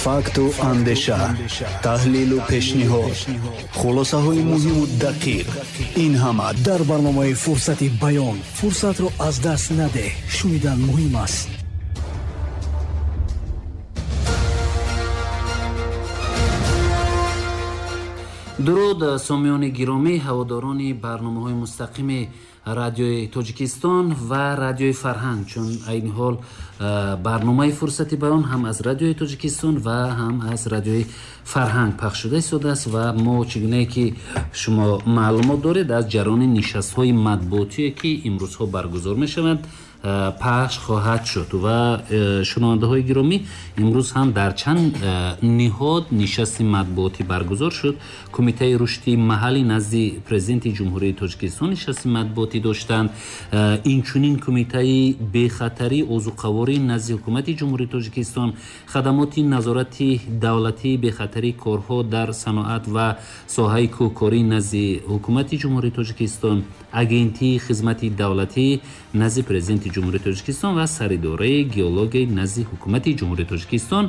Факту андеша, таҳлилу пешниҳод, хулосаҳои муҳиму дақиқ — ин ҳама дар барномаи «Фурсати баён». Фурсатро аз даст надеҳ, шунидан муҳим аст. Дуруд, сомиёни гиромӣ, ҳаводорони барномаҳои мустақими Радиои Тоҷикистон ва Радиои Фарҳанг, чун айни ҳол барномаи «Фурсати баён» ҳам аз Радиои Тоҷикистон ва ҳам аз Радиои Фарҳанг пахш шуда истодааст. Ва мо, чӣ гунае ки шумо маълумот доред, аз ҷараёни нишастҳои матбуотие, ки имрӯзҳо баргузор мешаванд, пахш хоҳад шуд. Ва шунавандаҳои гиромӣ, имрӯз ҳам дар чанд ниҳод нишасти матбуотӣ баргузор шуд. Кумитаи рушди маҳаллӣ назди Президенти Ҷумҳурии Тоҷикистон нишасти матбуотӣ доштанд, инчунин Кумитаи бехатарии озуқаворӣ назди Ҳукумати Ҷумҳурии Тоҷикистон, Хадамоти назорати давлатии бехатарии корҳо дар саноат ва соҳаи кӯҳкорӣ назди Ҳукумати Ҷумҳурии Тоҷикистон, Агентии хизмати давлатӣ назди Президенти Ҷумҳурии Тоҷикистон ва Саридораи геологияи назди Ҳукумати Ҷумҳурии Тоҷикистон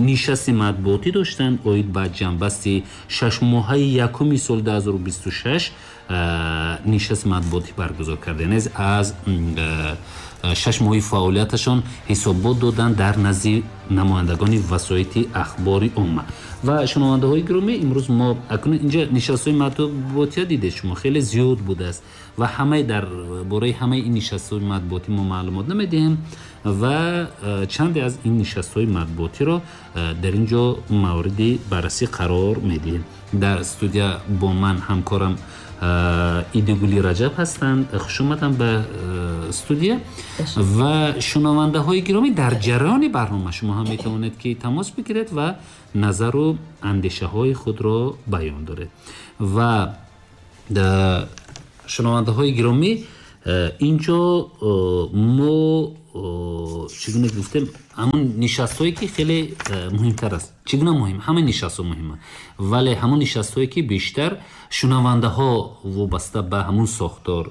нишасти матбуотӣ доштанд оид ба ҷамъбасти 6 моҳаи якуми соли 2026. Нишасти матбуотӣ баргузор карда, аз 6 моҳи фаъолияташон ҳисобот доданд дар назди намояндагони васоити ахбори омма. Ва шунавандаҳои гиромӣ, имрӯз мо акнун инҷа нишастҳои матбуотия дидед шумо, хеле зиёд будааст ва ҳамаи дар бораи ҳамаи ин нишастҳои матбуотӣ мо маълумот намедиҳем ва чанде аз ин нишастҳои матбуотиро дар ин ҷо мавриди баррасӣ қарор медиҳем. Дар студия бо ман ҳамкорам Идигули Раҷаб ҳастанд. Хушомадам ба студия. Ва шунавандаҳои гиромӣ, дар ҷараёни барнома шумо ҳам метавонед, ки тамос бигиред ва назару андешаҳои худро баён доред. Ва шунавандаҳои гиромӣ, инҷо мо, чӣ гуна гуфтем, ҳамон нишастҳое, ки хеле муҳимтар аст. Чӣ гуна муҳим? Ҳамаи нишастҳо муҳиманд, вале ҳамон нишастҳое, ки бештар шунавандаҳо вобаста ба ҳамун сохтор,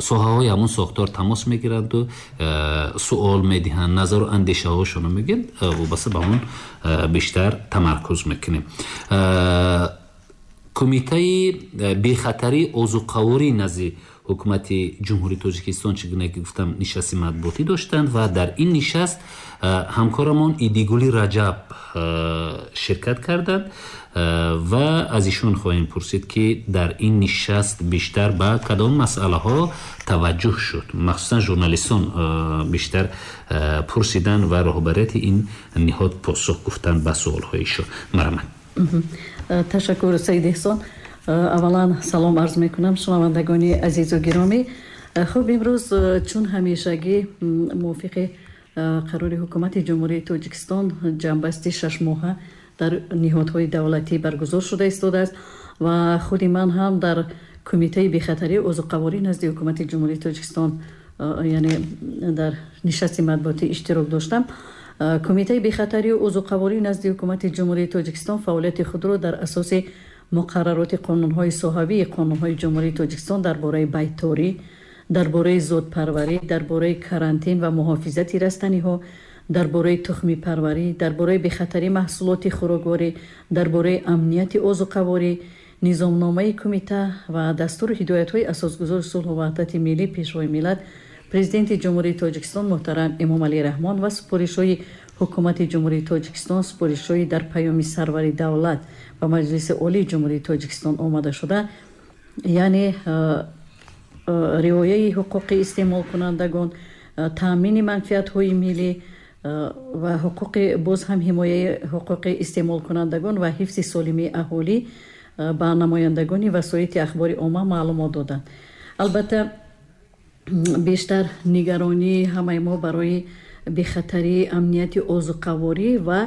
соҳаҳои ҳамун сохтор тамос мегиранду суол медиҳанд, назару андешаҳошонро мегӯянд, вобаста ба ҳамун бештар тамаркуз мекунем. Кумитаи бехатарии озуқаворӣ назди Ҳукумати Ҷумҳурии Тоҷикистон, чӣ гуна ки гуфтам, нишасти матбуотӣ доштанд ва дар ин нишаст ҳамкорамон Идигули Раҷаб ширкат карданд ва аз ишон хоҳем пурсид, ки дар ин нишаст бештар ба кадом масъалаҳо таваҷҷӯҳ шуд. Махсусан журналистон бештар пурсиданд ва роҳбарияти ин ниҳод посух гуфтанд ба суолҳои ишон. Марҳамат. Ташаккур, Саид Эҳсон. Аввалан салом арз мекунам, шунавандагони азизу гиромӣ. Хуб, имрӯз, чун ҳамешагӣ, мувофиқи қарори Ҳукумати Ҷумҳурии Тоҷикистон, ҷамъбасти 6 моҳа дар ниҳодҳои давлатӣ баргузор шуда истодааст ва худи ман ҳам дар Кумитаи бехатарии озуқаворӣ назди Ҳукумати Ҷумҳурии Тоҷикистон, яъне дар нишасти матбуотӣ иштирок доштам. Кумитаи бехатарию озуқаворӣ назди Ҳукумати Ҷумҳурии Тоҷикистон фаъолияти худро дар асоси муқаррароти қонунҳои соҳавии қонунҳои Ҷумҳурии Тоҷикистон дар бораи байторӣ, дар бораи зотпарварӣ, дар бораи карантин ва муҳофизати растаниҳо, дар бораи тухмипарварӣ, дар бораи бехатарии маҳсулоти хӯрокворӣ, дар бораи амнияти озуқаворӣ, низомномаи кумита ва дастуру ҳидоятҳои Асосгузори сулҳу ваҳдати миллӣ, Пешвои миллат, Президенти Ҷумҳурии Тоҷикистон муҳтарам Эмомалӣ Раҳмон ва супоришҳои Ҳукумати Ҷумҳурии Тоҷикистон, супоришҳои дар Паёми Сарвари давлат ба Маҷлиси Олии Ҷумҳурии Тоҷикистон омада шуда, яъне риояи ҳуқуқи истеъмолкунандагон, таъмини манфиатҳои миллӣ ва ҳуқуқи, боз ҳам ҳимояи ҳуқуқи истеъмолкунандагон ва ҳифзи солимии аҳолӣ, ба намояндагони васоити ахбори омма маълумот доданд. Албатта, бештар нигаронии ҳамаи мо барои бехатарии амнияти озуқаворӣ ва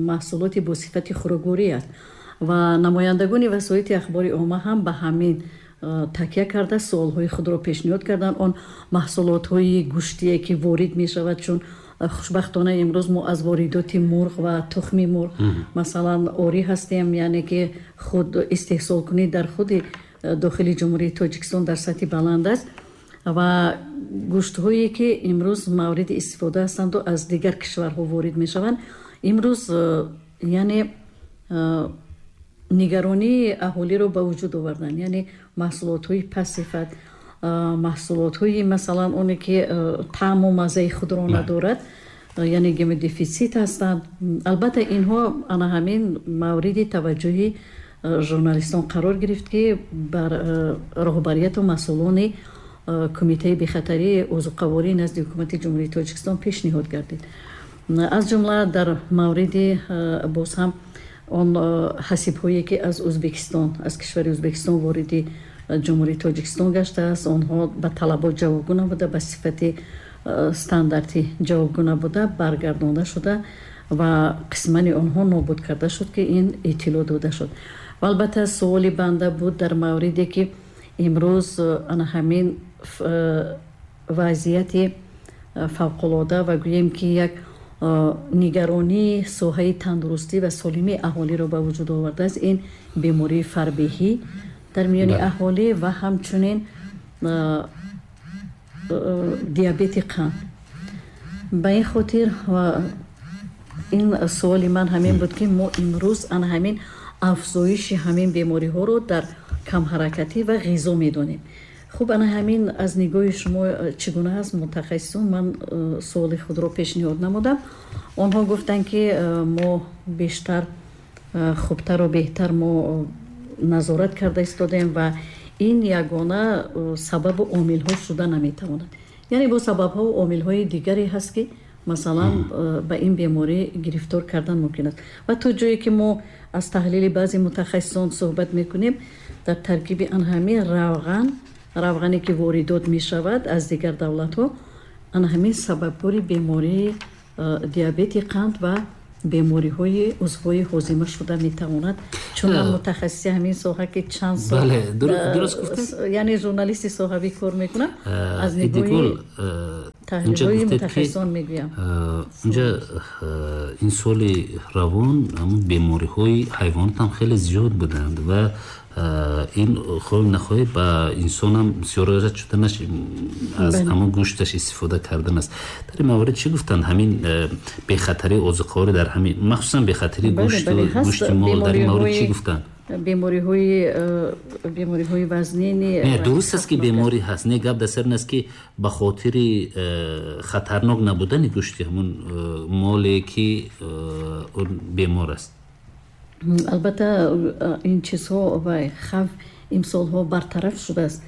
маҳсулоти бо сифати хӯрокворӣ аст ва намояндагони васоити ахбори омма ҳам ба ҳамин такя карда суолҳои худро пешниҳод карданд. Он маҳсулотҳои гӯштие, ки ворид мешавад, чун хушбахтона имрӯз мо аз воридоти мурғ ва тухми мурғ, масалан, орӣ ҳастем, яъне ки худ истеҳсолкунӣ дар худи дохили Ҷумҳурии Тоҷикистон дар сатҳи баланд аст. Ва гӯштҳое, ки имрӯз мавриди истифода ҳастанду аз дигар кишварҳо ворид мешаванд, имрӯз яъне нигаронии аҳолиро ба вуҷуд оварданд. Яъне маҳсулотҳои пастсифат, маҳсулотҳои, масалан, оне ки таъму маззаи худро надорад, яъне гемодефитсит ҳастанд. Албатта, инҳо ана ҳамин мавриди таваҷҷӯҳи журналистон қарор гирифт, ки бар роҳбарияту масъулони Кумитаи бехатарии озуқаворӣ назди Ҳукумати Ҷумҳурии Тоҷикистон пешниҳод гардид. Аз ҷумла дар мавриди боз ҳам он ҳасибҳое, ки аз Ӯзбекистон, аз кишвари Ӯзбекистон вориди Ҷумҳурии Тоҷикистон гаштааст, онҳо ба талабот ҷавобгӯ набуда, ба сифати стандартӣ ҷавобгӯ набуда, баргардонда шуда ва қисмани онҳо нобуд карда шуд, ки ин иттилоъ дода шуд. Ва албатта, суоли банда буд дар мавриде, ки имрӯз ана ҳамин вазъияти фавқулода ва гӯем, ки як нигаронии соҳаи тандурустӣ ва солимии аҳолиро ба вуҷуд овардааст, ин бемории фарбеҳӣ дар миёни аҳолӣ ва ҳамчунин диабети қанд. Ба ин хотир ин суоли ман ҳамин буд, ки мо имрӯз ана ҳамин афзоиши ҳамин бемориҳоро дар камҳаракатӣ ва ғизо медонем. Хуб, ана ҳамин аз нигоҳи шумо чӣ гуна аст, мутахассисон? Ман суоли худро пешниҳод намудам. Онҳо гуфтанд, ки мо бештар, хубтару беҳтар мо назорат карда истодаем ва ин ягона сабабу омилҳо шуда наметавонад. Яъне бо сабабҳо, омилҳои дигаре ҳаст, ки масалан ба ин беморӣ гирифтор кардан мумкин аст. Ва то ҷое ки мо аз таҳлили баъзе мутахассисон суҳбат мекунем, дар таркиби ан ҳамин равған, равғане ки воридот мешавад аз дигар давлатҳо, ана ҳамин сабабгори бемории диабети қанд ва бемориҳои узвҳои ҳозима шуда метавонад. Чун ман мутахассиси ҳамин соҳа, ки чанд сол яъне журналисти соҳавӣ кор мекунам, аз нигоҳи таҳлилҳои мутахассисон мегӯям. Инҷа ин соли равон ҳамун бемориҳои ҳайвонот ҳам хеле зиёд буданд ва ин хоҳӣ нахоҳӣ ба инсонам сиёрат шуданаш аз ҳамон гӯшташ истифода кардан аст. Дар ин маврид чӣ гуфтанд? Ҳамин бехатарии озуқаворӣ дар ҳамин, махсусан бехатарии гӯшти мол, дар ин маврид чӣ гуфтанд? Бемориҳои вазнини Не, дуруст аст, ки беморӣ ҳаст. Не, гап дар сар ин аст, ки ба хотири хатарнок набудани гӯшти ҳамун моле, ки он бемор аст. Албатта, ин чизҳо ва хавф имсолҳо бартараф шудааст.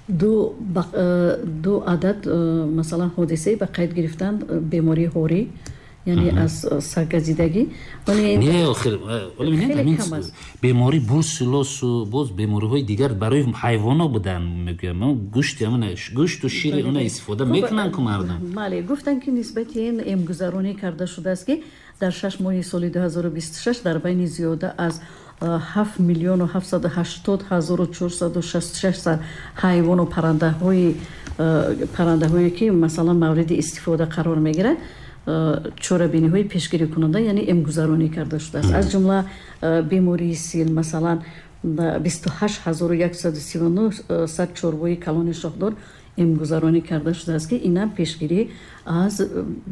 Ду адад, масалан, ҳодисае ба қайд гирифтанд, бемории ҳорӣ, яъне аз саггазидагӣ. Не, охир беморӣ бруселлозу боз бемориҳои дигар барои ҳайвоно буданд, мегӯям. Гӯшти гӯшту шири она истифода мекунанд ку мардум. Бале, гуфтанд, ки нисбати ин эмгузаронӣ карда шудааст, ки дар 6 моҳи соли 2026 дар байни зиёда аз 7 миллиону 780 ҳазору 466 сар ҳайвону паррандаҳое, ки масалан мавриди истифода қарор мегирад, чорабиниҳои пешгирикунанда, яъне эмгузаронӣ карда шудааст. Аз ҷумла бемории сил, масалан, 28 139 сар чорвои калони шохдор эмгузаронӣ карда шудааст, ки инам пешгирӣ аз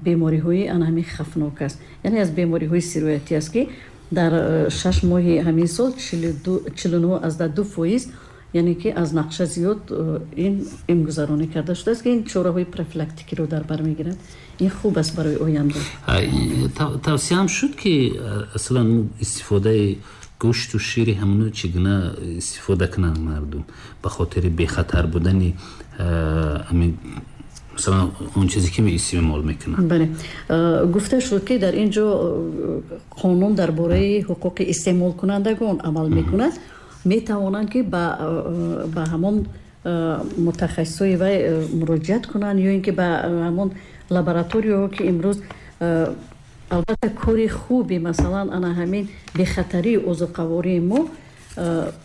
бемориҳои ана ҳамин хавфнок аст, яъне аз бемориҳои сироятӣ аст, ки дар 6 моҳи ҳамин сол 49,2%, яъне ки аз нақша зиёд ин эмгузаронӣ карда шудааст, ки ин чораҳои профилактикиро дар бар мегирад. Ин хуб аст барои оянда. Тавсияам шуд, ки аслан истифодаи гӯшту шири ҳамоно чӣ гуна истифода кунанд мардум ба хотири бехатар будани масалан он чизе, ки истеъмол мекунанд? Бале, гуфта шуд, ки дар ин ҷо қонун дар бораи ҳуқуқи истеъмолкунандагон амал мекунад. Метавонанд, ки ба ҳамон мутахассисои вай муроҷиат кунанд ё ин ки ба ҳамон лабораторияҳо, ки имрӯз албатта кори хуби, масалан, ана ҳамин бехатарии озуқавории мо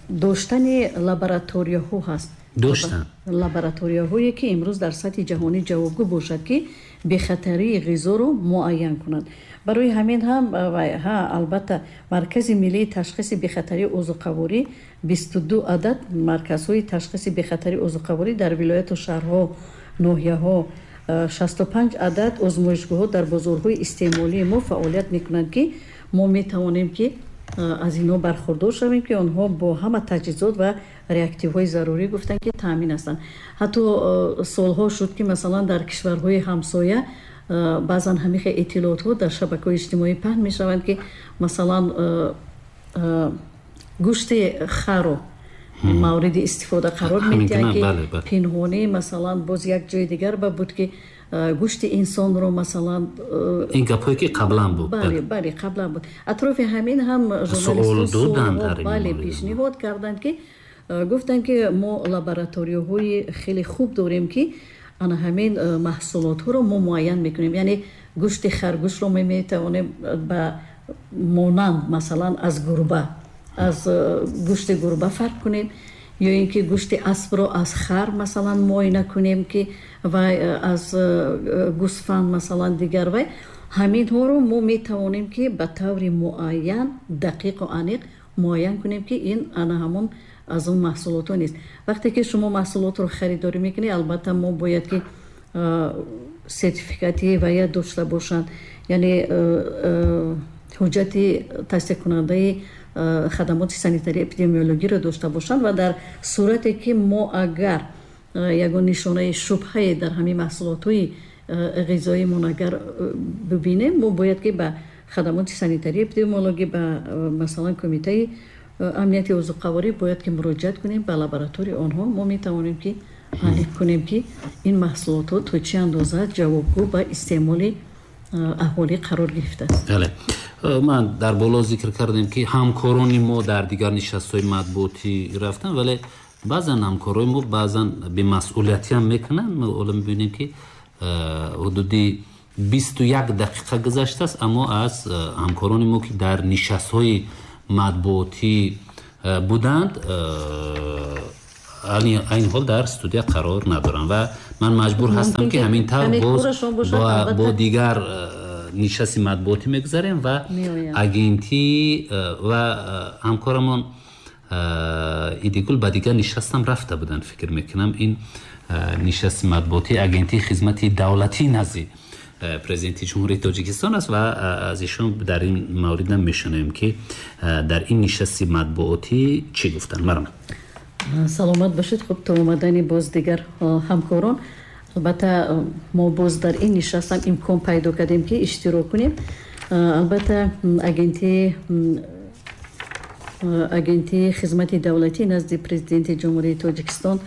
доштани лабораторияҳо ҳаст. Доштанд лабораторияҳое, ки имрӯз дар сатҳи ҷаҳонӣ ҷавобгӯ бошад, ки бехатарии ғизоро муайян кунанд. Барои ҳамин ҳам, албатта, Маркази миллии ташхиси бехатарии озуқаворӣ, 22 адад марказҳои ташхиси бехатарии озуқаворӣ дар вилояту шаҳрҳо, ноҳияҳо, 65 адад озмоишгоҳҳо дар бозорҳои истеъмолии мо фаъолият мекунанд, ки мо метавонем, ки аз инҳо бархурдор шавем, ки онҳо бо ҳама таҷҳизот ва реактивҳои зарурӣ, гуфтанд, ки таъмин ҳастанд. Ҳатто солҳо шуд, ки масалан дар кишварҳои ҳамсоя баъзан ҳамихе иттилоотҳо дар шабакаҳои иҷтимоӣ паҳн мешаванд, ки масалан гӯшти харо мавриди истифода қарор медиҳанд, ки пинҳонӣ, масалан, боз як ҷои дигар ба буд, ки гӯшти инсонро, масалан. Ин гапҳое, ки қаблан буд. Бале, бале, қаблан буд. Атрофи ҳамин ҳам журналистҳо, бале, пешниҳод карданд, ки гуфтанд, ки мо лабораторияҳои хеле хуб дорем, ки ана ҳамин маҳсулотҳоро мо муайян мекунем, яъне гӯшти харгӯшро мо метавонем ба монанд, масалан, аз гурба, аз гӯшти гурба фарқ кунем, ё ин ки гӯшти аспро аз хар, масалан, муоина кунем, ки вай аз гӯсфанд, масалан, дигар. Вай ҳаминҳоро мо метавонем, ки ба таври муайян, дақиқу аниқ муайян кунем, ки ин ана ҳамон аз он маҳсулотҳо нест. Вақте ки шумо маҳсулотро харидорӣ мекунед, албатта, мо бояд, ки сертификати вая дошта бошанд, яъне ҳуҷҷати тасдиқкунандаи хадамоти санитарии эпидемиологиро дошта бошанд. Ва дар сурате ки мо агар ягон нишонаи шубҳае дар ҳамин маҳсулотҳои ғизоимон агар бибинем, мо бояд, ки ба хадамоти санитарии эпидемиологӣ, ба, масалан, Кумитаи амнияти озуқаворӣ бояд, ки муроҷиат кунем. Ба лабораторияи онҳо мо метавонем, ки аниқ кунем, ки ин маҳсулотҳо то чӣ андоза ҷавобгӯ ба истеъмоли аҳолӣ қарор гирифтааст. Бале, ман дар боло зикр кардем, ки ҳамкорони мо дар дигар нишастҳои матбуотӣ рафтанд, вале баъзан ҳамкорои мо баъзан бемасъулиятиам мекунанд. Мо ҳоло мебинем, ки ҳудуди 21 дақиқа гузаштааст, аммо аз ҳамкорони мо, ки дар нишастҳои матбуотӣ буданд, айни ҳол дар студия қарор надоранд ва ман маҷбур ҳастам, ки ҳамин тавр боз бо дигар нишасти матбуотӣ мегузарем ва агентӣ ва ҳамкорамон Идигул ба дигар нишастам рафта буданд. Фикр мекунам, ин нишасти матбуотии Агентии хизмати давлатӣ назди Президенти Ҷумҳурии Тоҷикистон аст ва аз ишон дар ин мавридам мешунавем, ки дар ин нишасти матбуотӣ чӣ гуфтанд. Марҳамат. Саломат бошед. Хуб, то омадани боз дигар ҳамкорон, албатта, мо боз дар ин нишастам имкон пайдо кардем, ки иштирок кунем. Албатта, Агентии хизмати давлатӣ назди Президенти Ҷумҳурии Тоҷикистон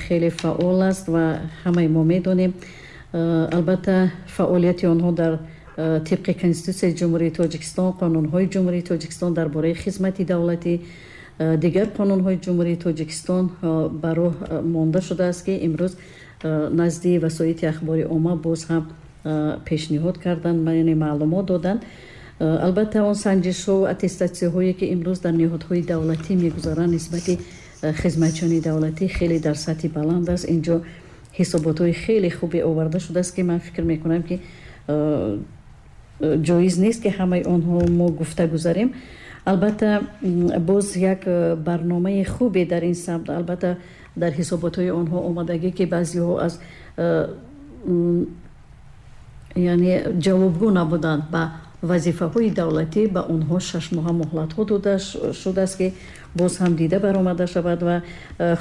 хеле фаъол аст ва ҳамаи мо медонем. Албатта, фаъолияти онҳо дар тибқи Конститутсияи Ҷумҳурии Тоҷикистон, қонунҳои Ҷумҳурии Тоҷикистон дар бораи хизмати давлатӣ, дигар қонунҳои Ҷумҳурии Тоҷикистон ба роҳ монда шудааст, ки имрӯз назди васоити ахбори омма боз ҳам пешниҳод карданд, яъне маълумот доданд. Албатта, он санҷишҳо, аттестатсияҳое, ки имрӯз дар ниҳодҳои давлатӣ мегузаранд нисбати хизматчиёни давлатӣ, хеле дар сатҳи баланд аст. Инҷо ҳисоботҳои хеле хубе оварда шудааст, ки ман фикр мекунам, ки ҷоиз нест, ки ҳамаи онҳо мо гуфта гузарем. Албатта, боз як барномаи хубе дар ин самт, албатта, дар ҳисоботҳои онҳо омадагӣ, ки баъзеҳо аз, яъне, ҷавобгӯ набуданд ба вазифаҳои давлатӣ, ба онҳо 6 моҳа муҳлатҳо дода шудааст, ки боз ҳам дида баромада шавад. Ва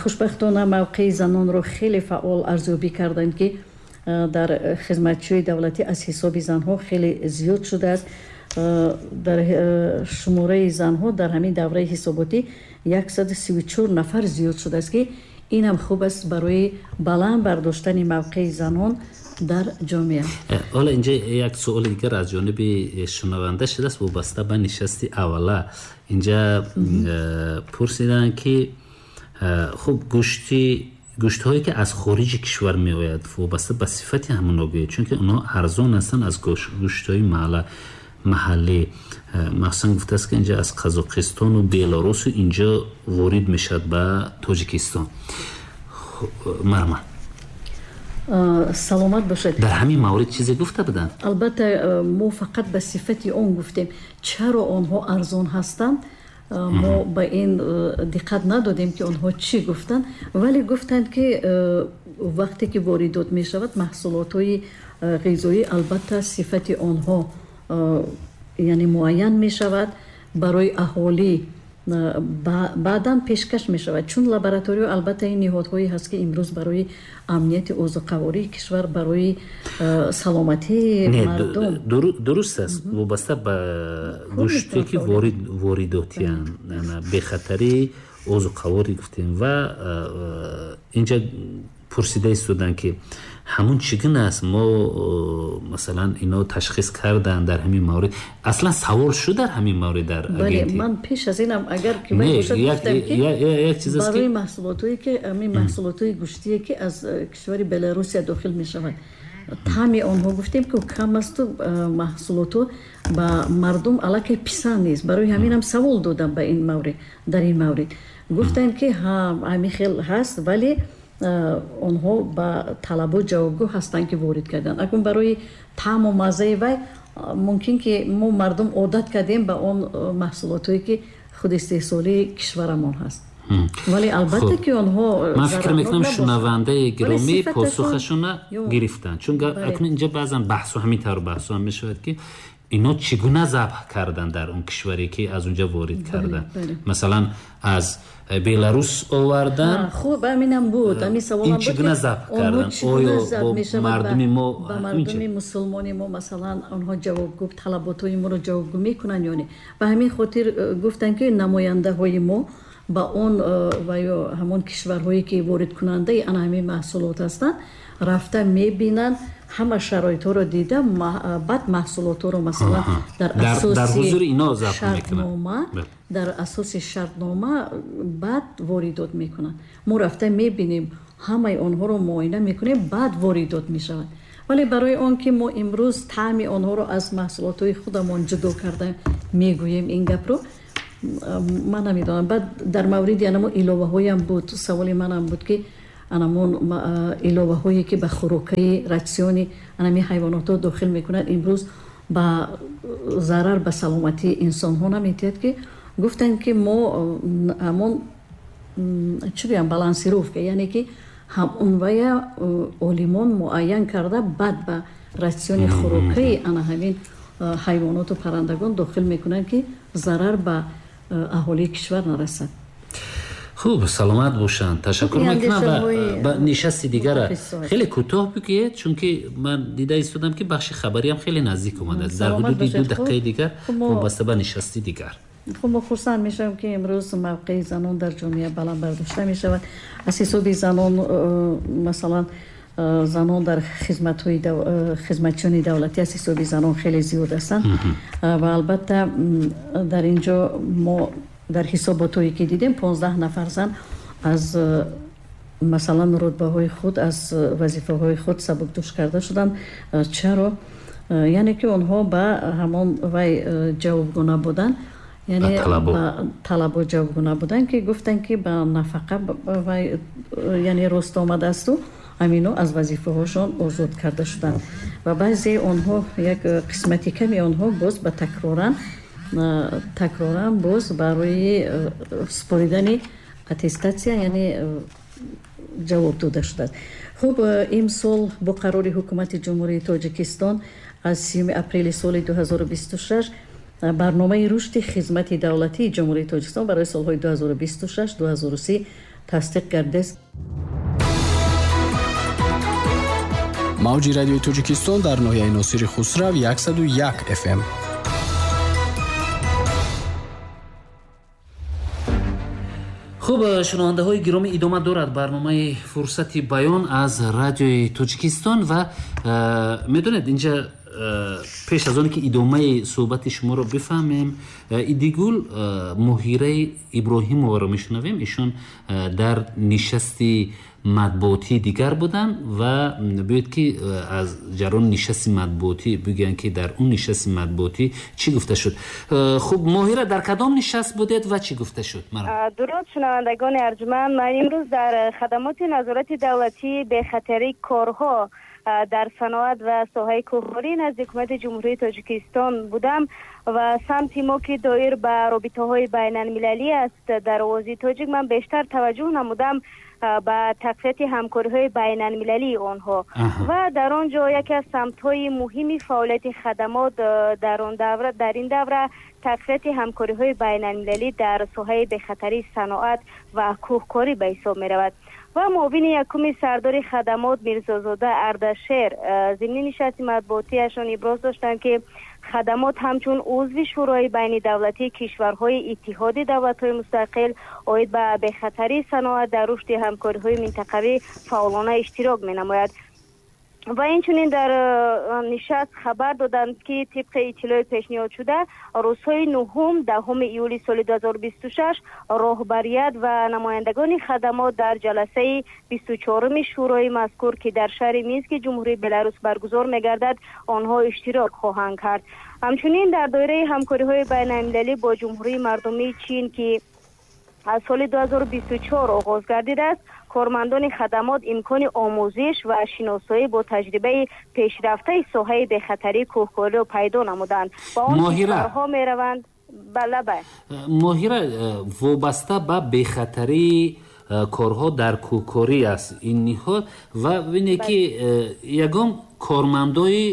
хушбахтона мавқеи занонро хеле фаъол арзёбӣ карданд, ки дар хизматчиёи давлатӣ аз ҳисоби занҳо хеле зиёд шудааст. Дар шумораи занҳо дар ҳамин давраи ҳисоботӣ 134 нафар зиёд шудааст, ки инам хуб аст барои баланд бардоштани мавқеи занон дар ҷомеа. Ҳоло инҷа як суоли дигар аз ҷониби шунаванда шудааст, вобаста ба нишасти аввала. Инҷа пурсиданд, ки хуб, гӯштҳое, ки аз хориҷи кишвар меояд, вобаста ба сифати ҳамонҳо гӯед, чунки онҳо арзон ҳастанд аз гӯштҳои маҳаллӣ. Махсусан гуфтааст, ки инҷа аз Қазоқистону Беларусу инҷо ворид мешавад ба Тоҷикистон. Марҳамат. Саломат бошед. Дар ҳамин маврид чизе гуфта буданд? Албатта, мо фақат ба сифати он гуфтем. Чаро онҳо арзон ҳастанд? Мо ба ин диққат надодем, ки онҳо чӣ гуфтанд, вале гуфтанд, ки вақте ки воридот мешавад маҳсулотҳои ғизоӣ, албатта, сифати онҳо яъне муайян мешавад, барои аҳолӣ баъдан пешкаш мешавад, чун лабораториё, албатта, ин ниҳодҳое ҳаст, ки имрӯз барои амнияти озуқавории кишвар, барои саломатии мардум. Дуруст аст, вобаста ба гӯште ки воридотиянд, бехатарии озуқаворӣ гуфтем, ва инҷа пурсида истоданд, ки ҳамун чӣ гуна аст, мо масалан ино ташхис карданд дар ҳамин маврид, аслан савол шуд дар ҳамин маврид дар Бале, ман пеш аз инам, агар ки гуфтам, ки барои маҳсулотое ки ҳамин маҳсулотҳои гӯштие, ки аз кишвари Беларусия дохил мешавад, таъми онҳо, гуфтем, ки кам асту маҳсулотҳо ба мардум аллакай писанд нест. Барои ҳаминам савол додам ба ин маврид. Дар ин маврид гуфтанд, ки ҳамин хел ҳаст, вале онҳо ба талабот ҷавобгӯ ҳастанд, ки ворид карданд. Акун барои таъму маззаи вай мумкин, ки мо мардум одат кардем ба он маҳсулотҳое, ки худ истеҳсолии кишварамон ҳаст, вале албатта, ки онҳо Ман фикр мекунам, шунавандаи гиромӣ посухашона гирифтанд, чун акнун инҷа баъзан баҳсу ҳамин тавр баҳсу ҳам мешавад, ки ино чӣ гуна забҳ карданд дар он кишваре, ки аз унҷа ворид карданд, масалан, аз Беларус овардан. Хуб, ҳаминам буд, ҳамин саволам. Ин чӣ гуна забҳ карданд, оё бо мардуми мо, ба мардуми мусулмони мо, масалан, онҳо ҷавобгӯ, талаботҳои моро ҷавобгӯ мекунанд ё не. Ба ҳамин хотир гуфтанд, ки намояндаҳои мо ба он ва ё ҳамон кишварҳое, ки воридкунандаи ана ҳамин маҳсулот ҳастанд, рафта мебинанд, ҳама шароитҳоро дида, баъд маҳсулотҳоро, масалан, дар асоси шартнома, дар асоси шартнома баъд воридот мекунанд. Мо рафта мебинем, ҳамаи онҳоро муоина мекунем, баъд воридот мешавад. Вале барои он ки мо имрӯз таъми онҳоро аз маҳсулотҳои худамон ҷудо карда мегӯем, ин гапро ман намедонам. Баъд дар мавриди анамо иловаҳоям буд, саволи манам буд, ки анамон иловаҳое, ки ба хӯрокаи ратсиони анами ҳайвонотҳо дохил мекунанд, имрӯз ба зарар ба саломатии инсонҳо наметиҳад, ки гуфтанд, ки мо ҳамон, чӣ гӯям, балансировка, яъне ки ҳамон вая олимон муайян карда, баъд ба ратсиони хӯрокаи ана ҳамин ҳайвоноту паррандагон дохил мекунанд, ки зарар ба аҳолии кишвар нарасад. Хуб, саломат бошанд, ташаккур мекунам. Ва ба нишасти дигара хеле кӯтоҳ бигӯед, чунки ман дида истодам, ки бахши хабариам хеле наздик омадааст, дар ҳудуди 2 дақиқаи дигар, вобаста ба нишасти дигар. Хуб, мо хурсанд мешавем, ки имрӯз мавқеи занон дар ҷомеа баланд бардошта мешавад. Аз ҳисоби занон, масалан, занон дар хизматҳои хизматчиёни давлатӣ, аз ҳисоби занон хеле зиёд ҳастанд. Ва албатта, дар ин ҷо мо дар ҳисоботҳое, ки дидем, 15 нафар зан аз, масалан, рутбаҳои худ, аз вазифаҳои худ сабукдӯш карда шуданд. Чаро? Яъне ки онҳо ба ҳамон вай ҷавобгӯ набуданд, яъне ба талабот ҷавобгӯ набуданд, ки гуфтанд, ки ба нафақа вай, яъне рост омадаасту ҳамино аз вазифаҳошон озод карда шуданд. Ва баъзе онҳо, як қисмати ками онҳо боз ба такроран боз барои супоридани аттестатсия, яъне ҷавоб дода шудааст. Хуб, имсол бо қарори Ҳукумати Ҷумҳурии Тоҷикистон аз 30 апрели соли 2026 барномаи рушди хизмати давлатии Ҷумҳурии Тоҷикистон барои солҳои 2026-2030 тасдиқ гардидааст. Мавҷи Радиои Тоҷикистон дар ноҳияи Носири Хусрав, 101 FM. Хуб, шунавандаҳои гиромӣ, идома дорад барномаи «Фурсати баён» аз Радиои Тоҷикистон. Ва медонед, инҷа пеш аз оне ки идомаи суҳбати шуморо бифаҳмем, Идигул, Моҳираи Иброҳимоваро мешунавем. Ишон дар нишасти Матбуотии дигар буданд ва биёед, ки аз ҷараёни нишасти матбуотӣ бигӯянд, ки дар он нишасти матбуотӣ чӣ гуфта шуд. Хуб, Моҳира, дар кадом нишаст будед ва чӣ гуфта шуд? Дуруд, шунавандагони арҷманд. Ман имрӯз дар хадамоти назорати давлатии бехатарии корҳо дар саноат ва соҳаи кӯҳкорӣ назди Ҳукумати Ҷумҳурии Тоҷикистон будам ва самти мо, ки доир ба робитаҳои байналмилалӣ аст, дар Овози Тоҷик ман бештар таваҷҷӯҳ намудам ба тақвияти ҳамкориҳои байналмилалии онҳо. Ва дар он ҷо яке аз самтҳои муҳими фаъолияти хадамот дар ин давра тақвияти ҳамкориҳои байналмилалӣ дар соҳаи бехатарии саноат ва кӯҳкорӣ ба ҳисоб меравад. Ва муовини якуми сардори хадамот Мирзозода Ардашер зимни нишасти матбуотиашон иброз доштанд, ки хадамот ҳамчун узви Шӯрои байнидавлатии кишварҳои Иттиҳоди Давлатҳои Мустақил оид ба бехатарии саноат дар рушди ҳамкориҳои минтақавӣ фаъолона иштирок менамояд. Ва инчунин дар нишаст хабар доданд, ки тибқи иттилои пешниҳодшуда, рӯзҳои 9, 10-уми июли соли 2026 роҳбарият ва намояндагони хадамот дар ҷаласаи 24-уми шӯрои мазкур, ки дар шаҳри Мински Ҷумҳурии Беларус баргузор мегардад, онҳо иштирок хоҳанд кард. Ҳамчунин дар доираи ҳамкориҳои байналмилалӣ бо Ҷумҳурии Мардумии Чин, ки аз соли 2024 оғоз гардидааст, кормандони хадамот имкони омӯзиш ва шиносоӣ бо таҷрибаи пешрафтаи соҳаи бехатарии кӯҳкориро пайдо намуданд ва он кишварҳо мераванд. Балаба. Моҳира, вобаста ба бехатарии корҳо дар кӯҳкорӣ аст ин ниҳод ва бибине, ки ягон кормандои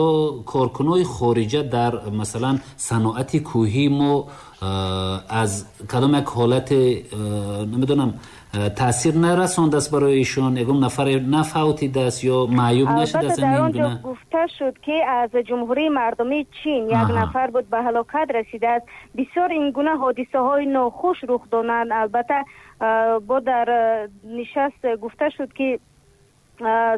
ё коркунои хориҷа дар, масалан, саноати кӯҳии мо аз кадом як ҳолате, намедонам, таъсир нарасондааст барои ишон, ягон нафаре нафавтидааст ё маъюб нашудааст? Дар он ҷо гуфта шуд, ки аз Ҷумҳурии Мардумии Чин як нафар буд, ба ҳалокат расидааст. Бисёр ин гуна ҳодисаҳои нохуш рух доданд. Албатта, бо дар нишаст гуфта шуд, ки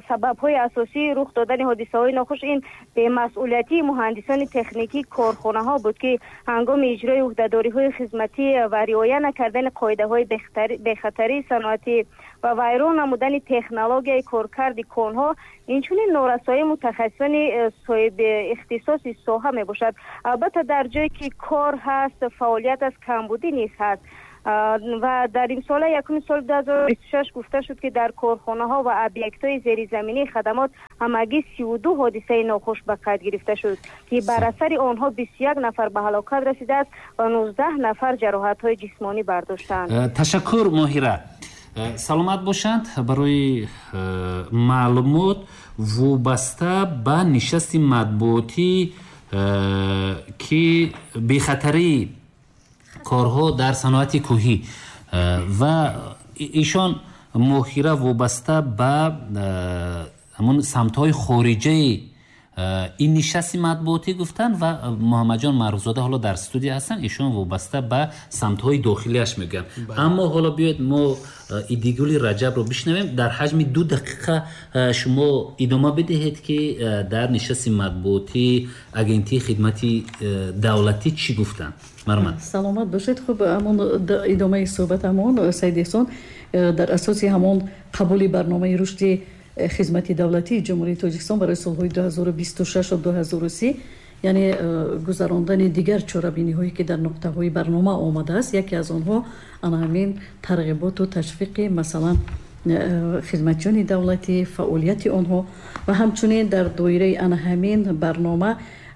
сабабҳои асосии рух додани ҳодисаҳои нохуш ин бемасъулиятии муҳандисони техникии корхонаҳо буд, ки ҳангоми иҷрои ӯҳдадориҳои хизматӣ ва риоя накардани қоидаҳои бехатарии саноатӣ ва вайрон намудани технологияи коркарди конҳо, инчунин норасоии мутахассисони соҳиби ихтисоси соҳа мебошад. Албатта, дар ҷое ки кор ҳаст, фаъолият аст, камбудӣ низ ҳаст. Ва дар имсола якуми соли 2026 гуфта шуд, ки дар корхонаҳо ва объектҳои зеризаминии хадамот ҳамагӣ 32 ҳодисаи нохуш ба қайд гирифта шуд, ки бар асари онҳо 21 нафар ба ҳалокат расидааст ва 19 нафар ҷароҳатҳои ҷисмонӣ бардоштаанд. Ташаккур, Моҳира, саломат бошанд барои маълумот. Вобаста ба нишасти матбуотӣ, ки бехатарии корҳо дар саноати кӯҳӣ ва ишон Моҳира вобаста ба ҳамон самтҳои хориҷаи ин нишасти матбуотӣ гуфтанд ва Муҳаммадҷон Маъруфзода ҳоло дар студия ҳастанд, ишон вобаста ба самтҳои дохилиаш мегӯянд. Аммо ҳоло биёед, мо Идигули Раҷабро бишнавем. Дар ҳаҷми 2 дақиқа шумо идома бидиҳед, ки дар нишасти матбуотии Агентии хидмати давлатӣ чӣ гуфтанд. Марҳамат. Саломат бошед. Хуб, ҳамон идомаи суҳбатамон, Саид Эҳсон, дар асоси ҳамон қабули барномаи рушди хизмати давлатии Ҷумҳурии Тоҷикистон барои солҳои 2026 2030, яъне гузарондани дигар чорабиниҳое, ки дар нуқтаҳои барнома омадааст, яке аз онҳо ана ҳамин тарғиботу ташвиқи, масалан, хизматчиёни давлатӣ, фаъолияти онҳо ва ҳамчунин дар доираи ана ҳамин барнома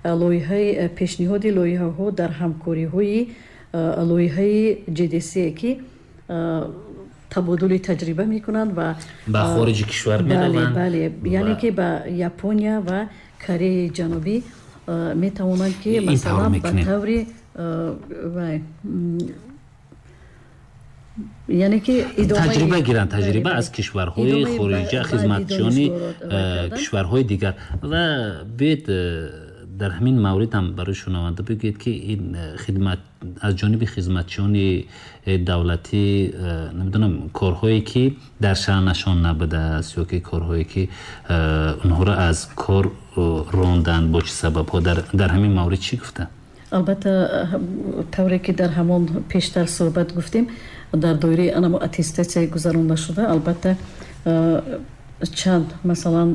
лоиҳаи пешниҳоди лоиҳаҳо дар ҳамкориҳои лоиҳаи ҶДС, ки табодули таҷриба мекунанд ва ба хориҷи кишвар мераванд. Бале, яъне ки ба Япония ва Кореяи Ҷанубӣ метавонанд, ки масалан, ба таври, яъне ки таҷриба гиранд, таҷриба аз кишварҳои хориҷа, хизматчиёни кишварҳои дигар. Ва биёед, дар ҳамин маврид ҳам барои шунаванда бигӯед, ки ин хидмат аз ҷониби хизматчиёни давлатӣ, намедонам, корҳое ки дар шаънашон набудааст ё ки корҳое ки онҳоро аз кор ронданд, бо чӣ сабабҳо, дар ҳамин маврид чӣ гуфтанд? Албатта, тавре ки дар ҳамон пештар суҳбат гуфтем, дар доираи анамо аттестатсияи гузаронда шуда, албатта, Чанд масалан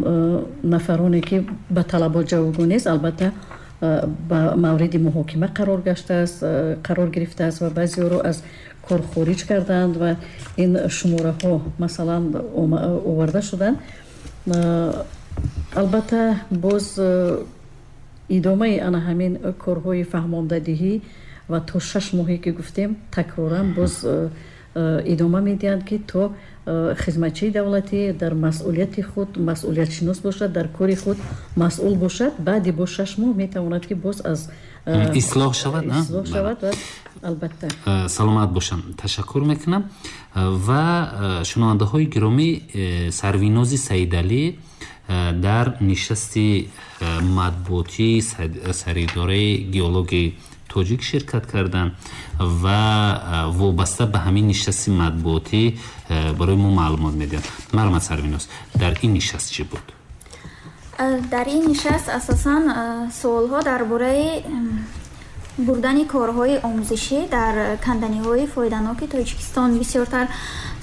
нафароне ки ба талабот ҷавобгӯ нест, албатта ба мавриди муҳокима қарор гаштааст, қарор гирифтааст ва баъзеҳоро аз кор хориҷ карданд ва ин шумораҳо масалан оварда шуданд. Албатта боз идомаи ана ҳамин корҳои фаҳмондадиҳӣ ва то 6 моҳе ки гуфтем такроран боз идома медиҳанд, ки то хизматчии давлатӣ дар масъулияти худ масъулиятшинос бошад, дар кори худ масъул бошад. Баъди бо 6 моҳ метавонад ки боз аз ислоҳ шавад, ислоҳ шавад ва албатта. Саломат бошам, ташаккур мекунам. Ва шунавандаҳои гиромӣ, Сарвинози Саидалӣ дар нишасти матбуотии саридораи геологии тоҷик ширкат карданд ва вобаста ба ҳамин нишасти матбуотӣ барои мо маълумот медиҳанд. Марҳамат Сарвиноз, дар ин нишаст чӣ буд? Дар ин нишаст асосан суолҳо дар бораи бурдани корҳои омӯзишӣ дар канданиҳои фоиданоки Тоҷикистон бисёртар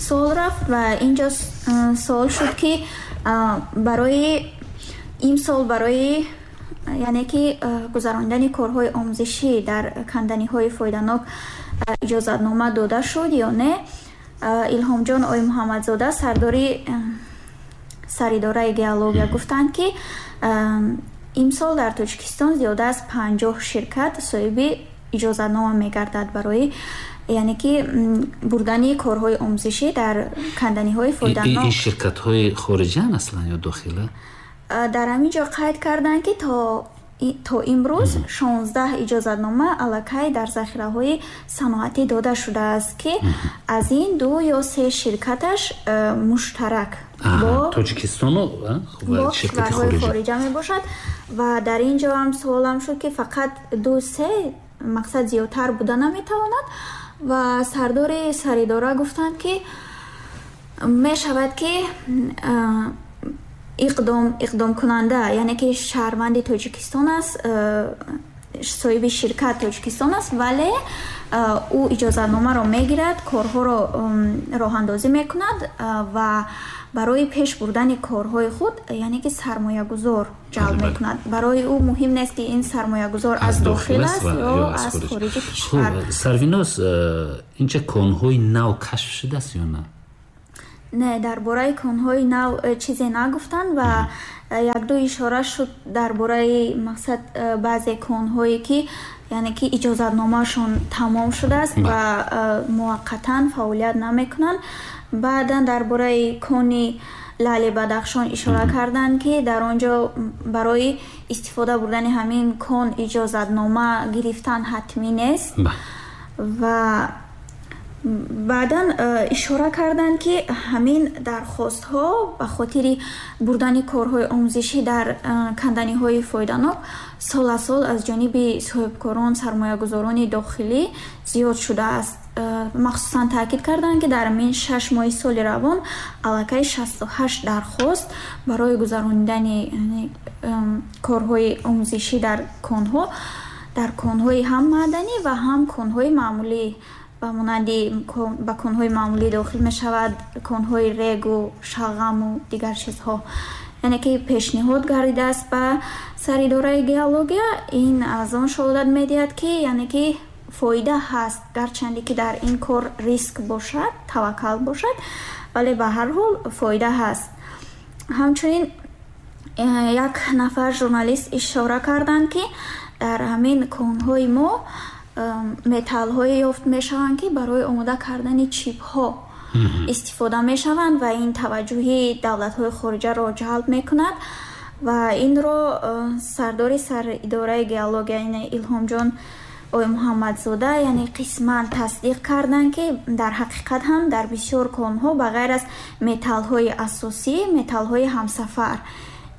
суол рафт ва инҷо суол шуд, ки барои имсол барои яъне ки гузарондани корҳои омӯзишӣ дар канданиҳои фоиданок иҷозатнома дода шуд ё не. Илҳомҷон Оймуҳаммадзода, сардори саридораи геология, гуфтанд, ки имсол дар Тоҷикистон зиёда аз 50 ширкат соҳиби иҷозатнома мегардад барои яъне ки бурдани корҳои омӯзишӣ дар канданиҳои фоиданок. Ин ширкатҳои хориҷиан аслан ё дохила? Дар ҳамин ҷо қайд карданд, ки то имрӯз 16 иҷозатнома аллакай дар захираҳои саноатӣ дода шудааст, ки аз ин 2 ё 3 ширкаташ муштарак бо Тоҷикистону ширкатҳои хориҷа мебошад. Ва дар ин ҷо ҳам суолам шуд, ки фақат 2-3 мақсад зиёдтар буда наметавонад. Ва сардори саридора гуфтанд, ки мешавад, ки иқдомкунанда, яъне ки шаҳрванди Тоҷикистон аст, соҳиби ширкат Тоҷикистон аст, вале ӯ иҷозатномаро мегирад, корҳоро роҳандозӣ мекунад ва барои пеш бурдани корҳои худ яъне ки сармоягузор ҷалб мекунад. Барои ӯ муҳим нест, ки ин сармоягузор аз дохил аст ё аз хориҷи кишвар. Сарвиноз, инча конҳои нав кашф шудааст ё на? Не, дар бораи конҳои нав чизе нагуфтанд ва якду ишора шуд дар бораи мақсад баъзе конҳое, ки яъне ки иҷозатномаашон тамом шудааст ва муваққатан фаъолият намекунанд. Баъдан дар бораи кони Лали Бадахшон ишора карданд, ки дар он ҷо барои истифода бурдани ҳамин кон иҷозатнома гирифтан ҳатмӣ нест. Ва баъдан ишора карданд, ки ҳамин дархостҳо ба хотири бурдани корҳои омӯзишӣ дар канданиҳои фоиданок сол аз сол аз ҷониби соҳибкорон, сармоягузорони дохилӣ зиёд шудааст. Махсусан таъкид карданд, ки дар ҳамин 6 моҳи соли равон аллакай 68 дархост барои гузаронидани корҳои омӯзишӣ дар конҳо, дар конҳои ҳам маъданӣ ва ҳам конҳои маъмулӣ, ба монанди ба конҳои маъмулӣ дохил мешавад конҳои регу, шалғаму дигар чизҳо, яъне ки пешниҳод гардидааст ба саридораи геология. Ин аз он шаҳодат медиҳад, ки яъне ки фоида ҳаст, гарчанде ки дар ин кор риск бошад, таваккал бошад, вале ба ҳар ҳол фоида ҳаст. Ҳамчунин як нафар журналист ишора карданд, ки дар ҳамин конҳои мо металлҳое ёфт мешаванд, ки барои омода кардани чипҳо истифода мешаванд ва ин таваҷҷӯҳи давлатҳои хориҷаро ҷалб мекунад. Ва инро сардори саридораи геология, яъне Илҳомҷон Оймуҳаммадзода, яъне қисман тасдиқ карданд, ки дар ҳақиқат ҳам дар бисёр конҳо ба ғайр аз металлҳои асосӣ, металлҳои ҳамсафар,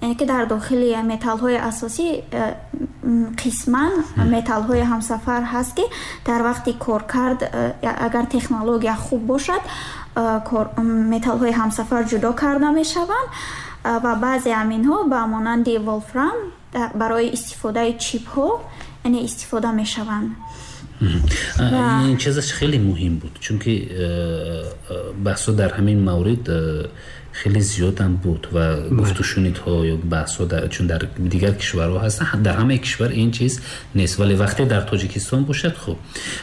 яъне ки дар дохили металлҳои асосӣ қисман металлҳои ҳамсафар ҳаст, ки дар вақти коркард агар технология хуб бошад, металлҳои ҳамсафар ҷудо карда мешаванд ва баъзе ҳаминҳо ба монанди волфрам барои истифодаи чипҳо яъне истифода мешаванд. Ин чизаш хеле муҳим буд, чунки баҳсҳо дар ҳамин маврид Хеле зиёдам буд ва гуфтушунидҳо ё баҳсҳо, чун дар дигар кишварҳо ҳастанд, дар ҳамаи кишвар ин чиз нест, вале вақте дар Тоҷикистон бошад, хуб.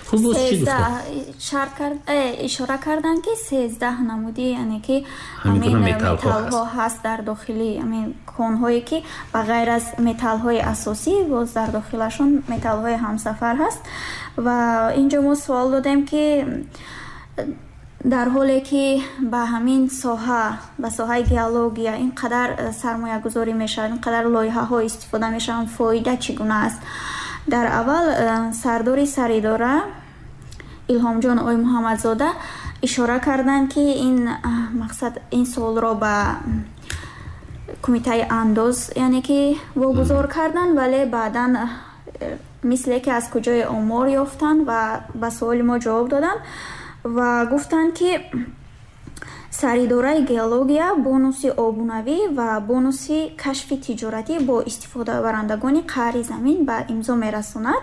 Хуб, боз чӣ гуфтанд? Ишора карданд, ки 13 намуди, яъне ки ҳамин металлҳо ҳаст дар дохили ҳамин конҳое, ки ба ғайр аз металлҳои асосӣ боз дар дохилашон металлҳои ҳамсафар ҳаст. Ва инҷо мо суол додем, ки дар ҳоле ки ба ҳамин соҳа, ба соҳаи геология ин қадар сармоягузорӣ мешавад, ин қадар лоиҳаҳо истифода мешаванд, фоида чӣ гуна аст? Дар аввал сардори саридора Илҳомҷон Оймуҳаммадзода ишора карданд, ки ин мақсад, ин суолро ба кумитаи андоз, яъне ки вогузор карданд, вале баъдан мисле ки аз куҷои омор ёфтанд ва ба суоли мо ҷавоб доданд ва гуфтанд, ки саридораи геология бонуси обунавӣ ва бонуси кашфи тиҷоратӣ бо истифодабарандагони қаъри замин ба имзо мерасонад.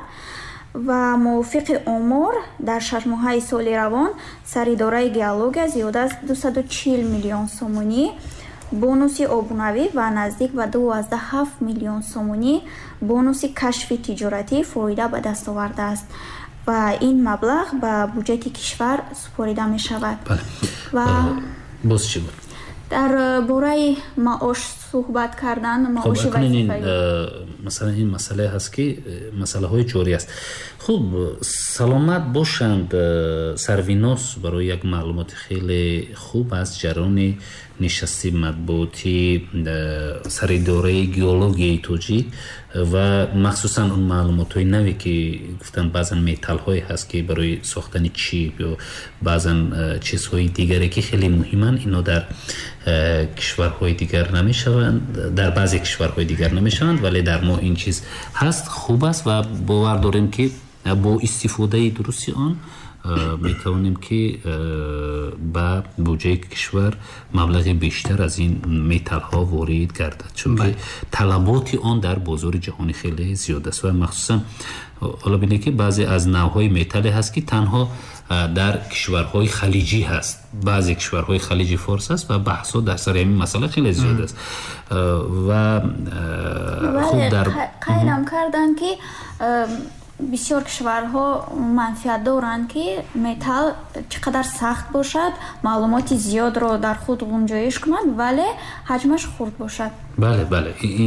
Ва мувофиқи омор, дар 6 моҳаи соли равон саридораи геология зиёда аз 240 миллион сомонӣ бонуси обунавӣ ва наздик ба 2,7 миллион сомонӣ бонуси кашфи тиҷоратӣ фоида ба даст овардааст ва ин маблағ ба буҷети кишвар супорида мешавад. Ва боз чӣ буд? Дар бораи маош суҳбат кардан, маоши вазифаӣ. Масалан, ин масъалае ҳаст, ки масъалаҳои ҷорӣ аст. Хуб, саломат бошанд, Сарвинос, барои як маълумоти хеле хуб аз ҷараёни нишасти матбуотии саридораи геологияи тоҷик ва махсусан он маълумотҳои наве, ки гуфтанд, баъзан металлҳое ҳаст, ки барои сохтани чип ё баъзан чизҳои дигаре, ки хеле муҳиманд, ино дар кишварҳои дигар намешаванд, дар баъзе кишварҳои дигар намешаванд, вале дар мо ин чиз ҳаст, хуб аст ва бовар дорем, ки бо истифодаи дурусти он метавонем, ки ба буҷаи кишвар маблағи бештар аз ин металлҳо ворид гардад, чунки талаботи он дар бозори ҷаҳонӣ хеле зиёд аст. Ва махсусан ҳоло бинед, ки баъзе аз навъҳои металле ҳаст, ки танҳо дар кишварҳои халиҷӣ ҳаст, баъзе кишварҳои Халиҷи Форс ҳаст ва баҳсҳо дар сари ҳамин масъала хеле зиёд аст ва хуб, дар қайдам карданд, ки бисёр кишварҳо манфиат доранд, ки металл чӣ қадар сахт бошад, маълумоти зиёдро дар худ ғунҷоиш кунад, вале ҳаҷмаш хурд бошад. Бале.